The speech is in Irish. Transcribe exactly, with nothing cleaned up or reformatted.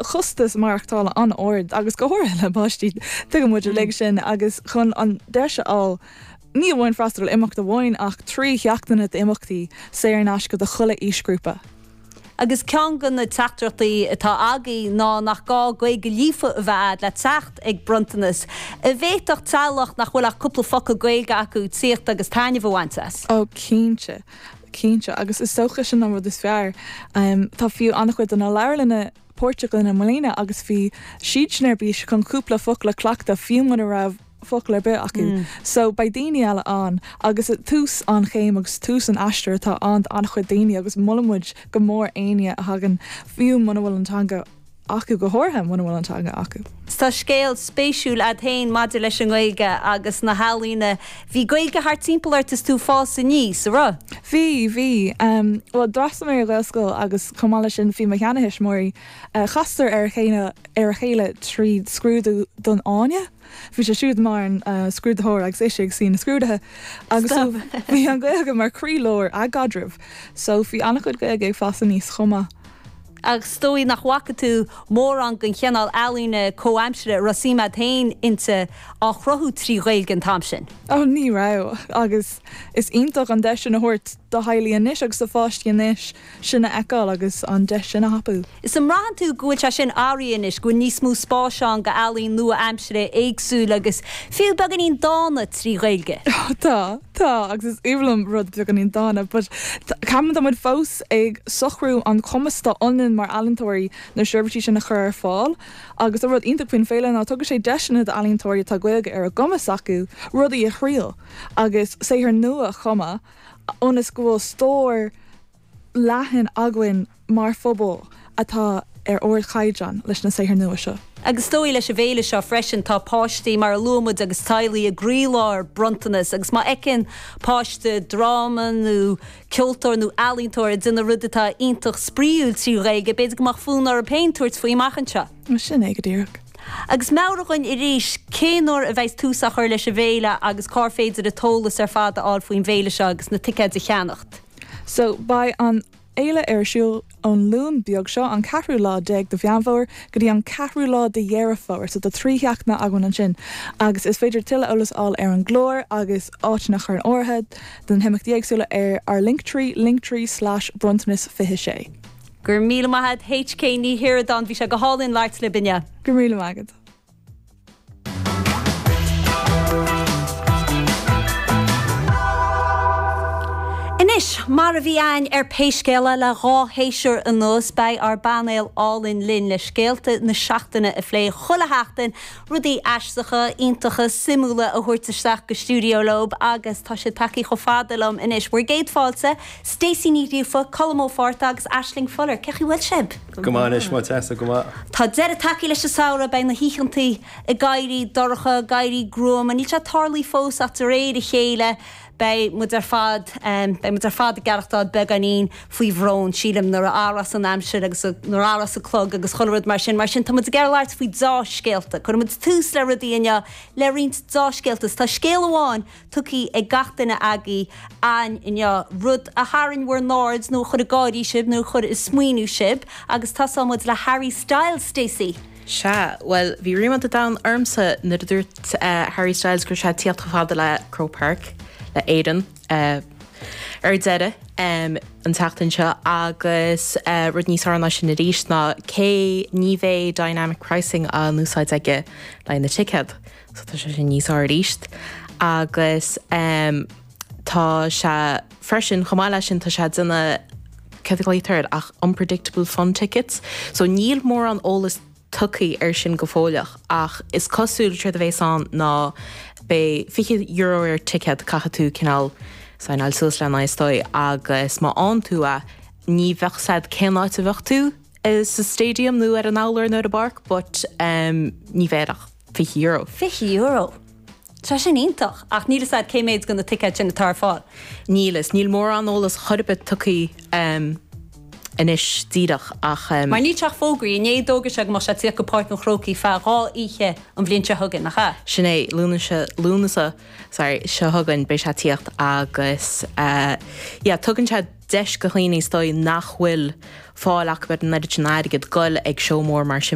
Costas maireachtála an-ard agus go háirithe le páistí, tuigeann muid uilig sin, agus chun an deis a fháil ní amháin freastal ar imeacht amháin ach trí sheachtaine d'imeachtaí saor in aisce do chuile aoisghrúpa. Agus ceann de na teachtaireachtaí atá agaibh ná nach gá Gaeilge líofa a bheith agat le teacht ag Bronntanas. An bhféadfadh teaghlach nach bhfuil ach cúpla focal Gaeilge acu tíocht agus taitneamh a bhaint as? Ó cinnte, cinnte, agus is dócha sin an rud is fearr. Tá fiú an-chuid de na leabharlanna páirteach linn i mbliana agus bhí siad sin ar bís chun cúpla focal a chleachtadh fiú mura raibh focal ar bith acu. So beidh daoine eile ann agus tús an chéim agus tús an aistir atá ann d'an-chuid daoine agus molann muid go mór éinne a thagann fiú muna bhfuil an teanga acu, go háirithe muna bhfuil an teanga acu. Tá scéal spéisiúil agat féin maidir leis an nGaeilge agus na healaíona. Bhí Gaeilge thart timpeall ort is tú ag fás aníos, an raibh? Bhí, bhí. Um, well d'fhreastail mé ar Ghaelscoil agus chomh maith leis sin bhí mo sheanathuismitheoirí uh, chastar ar a chéile ar a chéile tríd scrúdú don Fháinne. Bhí sé siúd mar an uh, scrúdaitheoir agus ise ag suí na scrúduithe agus so bhí an Ghaeilge mar chroílár a gcaidrimh, so bhí an-chuid Gaeilge ag fás aníos chomh maith. Agus is dóigh nach bhfaca tú mórán den chineál ealaíne comhaimseartha a raibh suim agat féin inti á chruthú trí Ghaeilge an t-am sin. Ó ní raibh agus is iontach an deis sin a thabhairt do theaghlaigh anois agus do pháistí anois sin a fheiceáil agus an deis sin a thapú. Is an mbraitheann tú go bhfuil sé sin athraithe anois, go bhfuil níos mó spáis ann do ealaín nua-aimseartha éagsúil agus fiú beagáinín dána trí Ghaeilge. Tá, tá agus is aoibhinn liom rud beagáinín dána, but ceapaim tá muid fós ag socrú an cumas atá ionainn mar ealaíontóirí na seirbhísí sin a chur ar fáil agus an rud iontach faoin féile ná tugann sé deiseanna d'ealaíontóirí atá Gaeilge ar a gcumas acu rudaí a thriail agus saothar nua a chumadh ionas go bhfuil stór leathan againn mar phobal atá ar ardchaighdeán leis na saothair nua seo. Agus is dóigh leis an bhféile seo freisin tá páistí mar a luaigh muid agus teaghlaigh i gcroílár Bronntanas agus má fheiceann páiste dráma nó ceoltóir nó ealaíontóir ag déanamh rud atá iontach spraíúil trí Ghaeilge, b'fhéidir go mbeadh fonn orthu féin tabhairt faoi amach anseo. Sin é go díreach. Agus meabhraigh dúinn arís cén uair a bheidh tús á chur leis an bhféile agus cár féidir an t-eolas ar fad a fháil faoin bhféile seo agus na ticéid a cheannacht. So beidh an fhéile ar siúl ón Luan beag seo an ceathrú lá déag de Mheán Fómhair go dtí an ceathrú lá de Dheireadh Fómhair, so tá trí sheachtaine againn ansin agus is féidir tuilleadh eolas a fháil ar an gclár agus áiteanna a chur in áirithe don himeachtaí éagsúla ar ár Linktree linktree slash bronntanas fiche sé. Gur míle maith H K Ní Shioradáin, bhí sé go hálainn labhairt libh inniu. Go míle maith agat. Anois, mar a bhí againn ar Pé Scéal É le dhá shéasúr anuas, beidh ár bpainéal álainn linn le scéalta na seachtaine a phlé chuile sheachtain, rudaí aisteacha, iontacha, suimiúla a thabhairt isteach go stiúideo leo agus tá siad tagtha chomh fada liom anois. Bhur gcéad fáilte, Stacey Ní Ghríofa, Colm Ó Fátharta agus Aisling Fuller. Cén chaoi a bhfuil sibh? Go maith anois, má Tessa, go maith. Tá deireadh tagtha leis an samhradh, beidh na hoícheantaí ag éirí dorcha, ag éirí gruama, níl sé tarlaithe fós ach de réir a chéile beidh muid ar fad beidh muid ar fad ag aireachtáil beagáinín faoi bhrón, sílim, nuair a athrós an aimsir agus nuair a athrós an clog agus chuile rud mar sin. Mar sin tá muid ag iarraidh labhairt faoi deá-scéalta. Cuirfidh muid tús le rudaí inniu le roinnt deá-scéalta. Tá scéal amháin tugtha ag gach duine agaibh againn inniu, rud a tharraing bhur n-aird nó a chuir ag gáirí sibh nó a chuir ag smaoineamh sibh agus tosóidh muid le Harry Styles, Stacey. Sea, bhuel, bhí ríméad an domhain ormsa nuair a dúirt Harry Styles go raibh sé ag tíocht chomh fada le Croke Park le Éirinn ar deireadh an tseachtain seo agus rud níos fearr ná sin arís ná cé ní bheidh dynamic pricing á n-úsáid aige le na ticéad. So tá sé sin níos fearr arís. Agus tá sé freisin chomh maith leis sin tá sé ag déanamh cad a ghlaotar air ach unpredictable fun tickets. So níl mórán eolas tugtha ar sin go fóilleach ach is cosúil séard a bheas ann ná beidh fiche euro ar ticéad caithfidh tú cineál signáil suas lena is dóigh agus má fhaigheann tú é ní bheadh a fhios agat cén áit a bheadh tú sa stadium nó ar an urlár nó ar an bpáirc but um, ní bheidh ach fiche euro. Fiche euro. Tá sin iontach ach níl a fhios agat cé méid de na ticéid sin atá ar fáil. Níl is níl mórán eolas chor ar bith tugtha um, anois díreach ach um, Mar níl sé ach fógraithe, inné d'fhógair sé go mbeadh sé ag tíocht go Páirc an Chrócaigh feadh dhá oíche an bhliain seo chugainn, nach ea? Sin é Lúnasa Lúnasa sorry seo chugainn beidh sé ag tíocht agus uh, yeah, tugann sé deis do dhaoine is dóigh nach bhfuil fáil acu ar an oiread sin airgid goil ag seó mór mar sin.